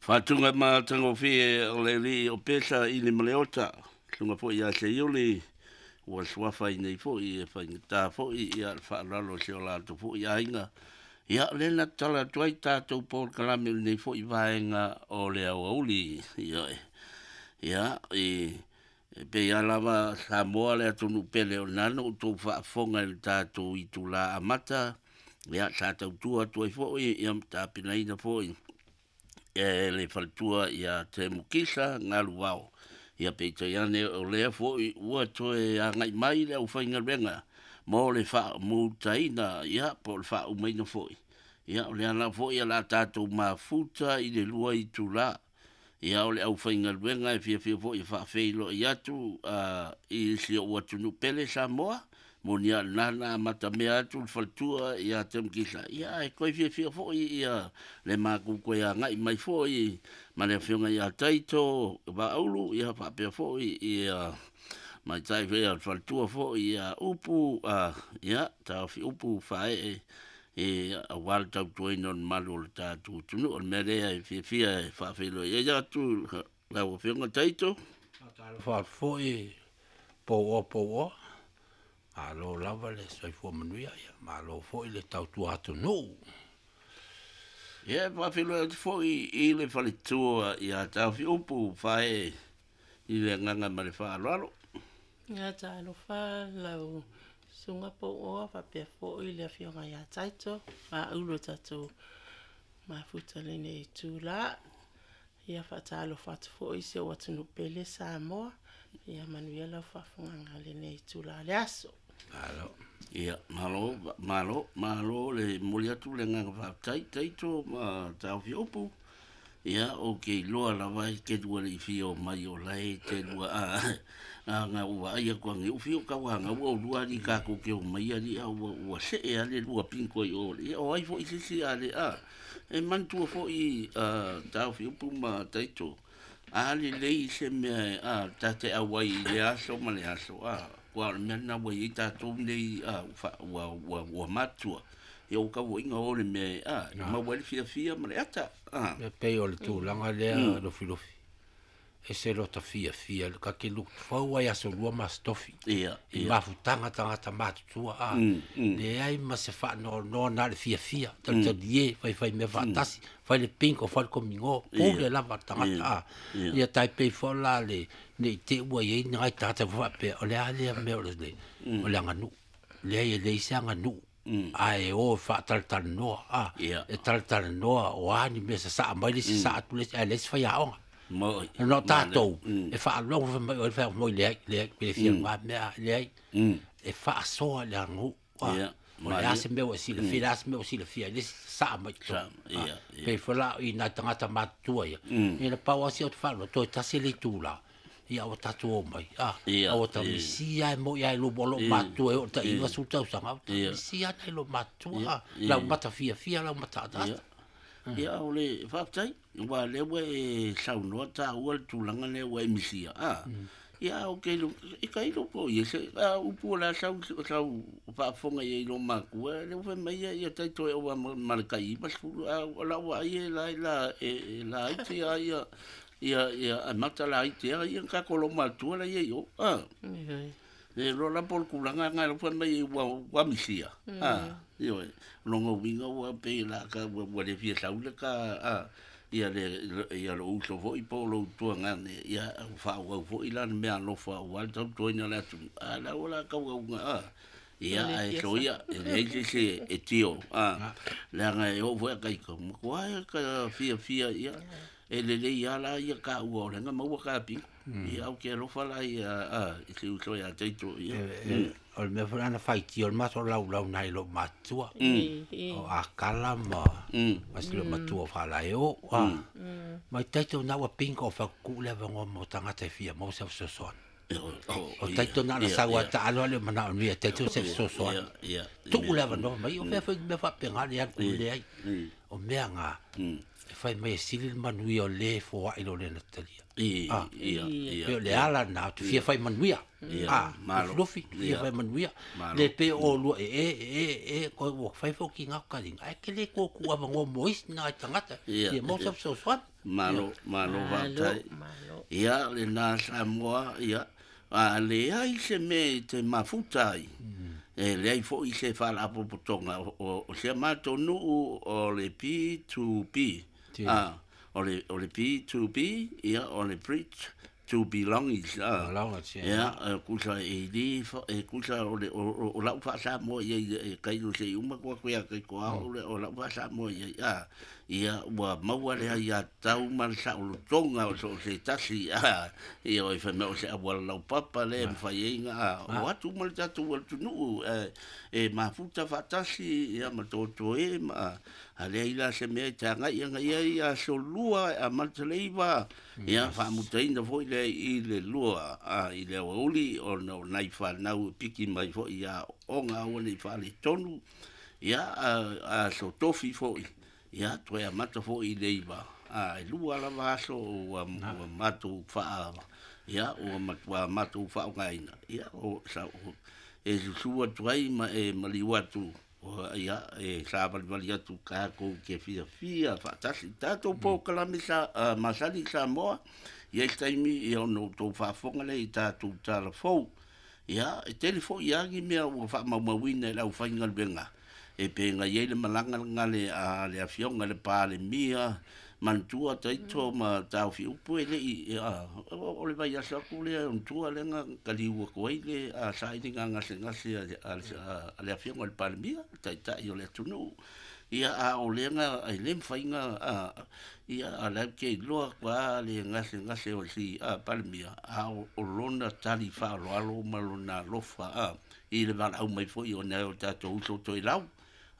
Faatuga matagofie o le alii o Pesa i le Maleota, susuga foi ia Seiuli, ua suafa ai nei foi e faigata foi ia le faaaloalo i si o latou foi aiga. Ia, o lea na tatala atu ai tatou polokalame i lenei foi vaega o le aoauli. Ioe. Ia, i e pei lava lava Samoa le atunuu pele o lena na outou faafofoga i le tatou itula amata, ia sa tautua atu ai foi ia ma tapenaina foi e le faletua ia Temu Kisa Galuvao. Ia peitai ane o lea foi ua toe agai mai le aufaigaluega mo le faamutaina, ia po o le faaumaina foi. Ia o lea lava foi o le a tatou mafuta i le 2 itula. Ia o le aufaigaluega e fiafia foi e faafeiloai atu i si ou atunuu pele Samoa, moni a lena na amatamea atu le faletua ia Temukisa, ia ae toe fiafia foi ia le matou toe agai mai foi ma le afioga ia Taito Vaaulu, ia faapea foi ia maitai foi le faletua foi ia Upu, ia Taofi Upu Faaee, e aua le tautuaina o le mamalu o le tatou atunuu. O le mea lea e fiafia e faafeiloai ai atu lau Afioga Taito. Faatalofa atu foi pouoa pouoa, malo lava le soifua manuia, ia malo foi le tautua atunuu. Ia, e faafeiloai atu foi i le faletua ia Taofi Upu Faaee i le agaga ma le faaaloalo. Ia talofa lau susuga Pouoa faapea foi le afioga ia Taito, Maaulo tatou mafuta i lenei itula. Ia faatalofa atu foi i si ou atunuu pele Samoa. Ia manuia lau faafofogaaga i lenei itula o le aso. Malo. Ia, malo, malo, malo le momoli atu le agaga faafetai, Taito ma Taofi Upu. Ia, ou te iloa lava e te lua le i fia o mai o la e te lua a a na ou vaai atu ane u fia o tau ana ua lua ali tatou te o mai ali a ua ua see a le lua pinto i o ia o ai foi se isi a le a e manatua foi a Taofi Upu ma Taito a lelei se mea a ta te auai i le aso ma le aso a ua o le mea lena ua i ai tatou nei a ua ua ua matua. Ia ua tauaiga o le mea e a, e maua ai le fiafia ma le ata. A. E pei o le tulaga lea Lufilufi, ese lota fiafia, ka ke look forward i aso lua ma aso tofi. Ia, I ia. mafutaga tagata matutua a, leai ma se faanoanoa na o le fiafia, talitalie, faifai mea faatasi, fai le bingo, fai le komigo, pule lava le tagata a. Ia. Ia tai pei foi la le, ne i te i ua i ai ni nai tagata ua faapea, o le a lea mea o le, o le aganuu. Leai e leai se aganuu. Ae o e faatalatalanoa, a, e talatalanoa o a ni mea sasaa mai le isi sasaa atu le isi, ae leai se faiaoga. Moi. Na o tatou, e faalogo fai mai oe le faiaoga, moi leai, leai, pe le fia lava mea, leai. E faasoa i le aganuu, a, o le a se mea ua e silafia, o le a se mea ua silafia ai le isi, sasaa mai i totonu. Ia. Pei foi la i nai tagata matutua ia, ia na pau lava si ou te faalogo, toe tasi le itula, ia ua tatou omai, a, Ia, a ua tamisia e moi ai luma o loo matua e oo i le tai 90 tausaga, ua Ia. tamisia nai lo matua, Ia, a, ia. lau mata fiafia, lau mata ataata. Ia, o le faafetai, aua o lea ua e saunoa taua le tulaga lea ua e misia, a. Ia, ou te iloa, e ta iloa po o i ai se a upu o le a sau, sau faafofoga i ai i lou matua, lea ua fai mai ia, ia tai toe ova ma le tai 90, a o lau vaai e la, e laiti lava ia, ia, ia amata laiti lava ia tatou loumatua la e i ai i o. A. E iloa la po o le tulaga lena lea ua fai mai ai ua, ua misia. A. Ioe. O lona uiga ua pei o le a ta, ua, ua le fia sau le ta, a, ia le, ia lou uso foi po o lou tuagane, ia ua faaauau foi la le meaalofa aua le tautuaina o le atunuu. A o la ua la tauauga, a. Ia, ae soia, e leai se isi e tio, a. Leaga e oo foi a taito, matua e ta fiafia, ia, e lelei lava la ia taua o lea na maua ta piko. Ia, ou te alofa la ia, a, i si uso ia Taito, ia. O le mea foi lea na faitio le matou laulau nai lou matua, o Akala ma ma si matua o Faalaeo, a. Mai Taito na ua bingo o fai atu tuu le avanoa mo tagata e fia maua se fesoasoani. O Taito na ona sau lava taalo a le o manaomia e Taito se fesoasoani. Tuu le avanoa mai, o fea foi le mea faapena le alu, leai. O mea ga e fai mai e sili le manuia o lē foaʻi lo le na talia. Ia, ia. Pe o le ala na o te fia fai manuia. Ia, malo. Lufilufi, fia fai manuia. Malo. Le pe o lua e e e e e koe ua fai fo ki ngā karinga. Ai ke le kua ku avangoa mo isi nā i tangata. Ia. Ia mo sa fesoasoani. Malo, malo faafetai. Malo. Ia, lena Samoa, ia, a leai se mea i te mafuta ai. E leai foi se faalapotopotoga o sea matou nuu o le P2B. Tele. A, o le P2B, ia, o le Bridge to Belongings. A, Belongings, ia. Ia, e kusa e li, e kusa o le, o lau faasamoa ia e kailo se i uma kua koe kai ko ao le o lau faasamoa ia a ia ua maua le ai a tau ma le saolotoga o so o se tasi a ia o i whamea o se awala lau papa le mwhai einga a o atu ma le tatou atunuu e mafuta faatasi ia ma toto e ma a lea ila se mea i te agai anga ia i aso lua a mataleiva ia faamutaina foi lea i le lua a i le aoauli ona o nai fanau e piki mai foi ia oga aua nei faaletonu ia aso tofi foi ia toe amata foi i le 9 a e lua lava aso ua matou faa ia ua matua matou faaaogaina ia o sa e susu atu ai ma e maliu atu o ia e savalivali atu kākou ke fiafia faatasi tatou polokalame sa masani Samoa ia isi taimi ia ona outou faafofoga lea i tatou tala fou ia e tele foi agi mea ua faamaumauina e le aufaigaluega e pega i ai le malaga le a le afioga le Palemia manatua taito ma taofi upu e leʻi o le vaiaso aku lea onatua lega kaliu atu ai le sailiga gasegase a le afioga le Palemia taitai o le atunuu ia a o lega e le mafaiga ia a le ke iloa kua le gasegase o si Palemia a o lona tali faaaloalo ma lona alofa i le valaau mai foi o nai o tatou uso toelau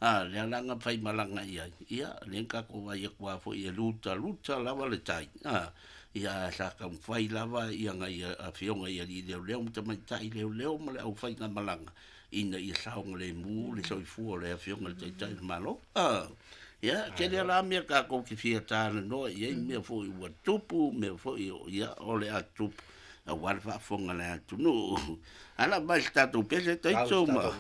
a lea laga fai malaga i ai ia le tatou vai atu a foi e luta luta lava le tai ia sa taumafai lava ia nai afioga i alii leoleo ma tamaitai leoleo ma le aufaiga malaga ina ia saogalemu le soifua o le afioga i le taitai o le Malo ia tele la mea takou te fia talanoa i ai mea foi ua tupu mea foi ia o le a tupu aua le faafofoga a le atunuu ala mai se tatou pese taito ma.